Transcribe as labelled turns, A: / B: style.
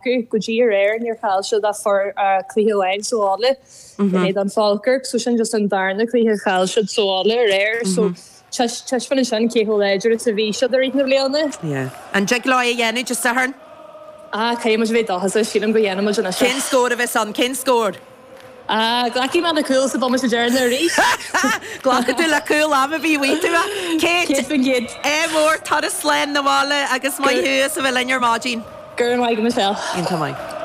A: acu. Go dtí aréir níor chaill siad ach cluiche amháin sa bhaile in éadan Falkirk so sin just an darna cluiche a chaill siad sa bhaile aréir so taispeánann sin cé chomh láidir is a bhí siad i rith na bliana.
B: Yeah. An dtig leo é a dhéanamh Dé Sathairn?
A: Ah, caithfidh muid a bheith dóchasach, sílim go ndéanfaidh muid anois
B: é. Cén scór a bheas ann? Cén scór?
A: Ah, glacfaidh mé le cúl sa bomaite deireanach arís.
B: Glacfaidh tú le cúl am ar bith uaidh tú.
A: Kate, 100%.
B: Ádh mór, turas slán 'na bhaile agus maith thú as a bheith linn ar maidin.
A: Go raibh maith agat Michelle.
B: Iontach maith.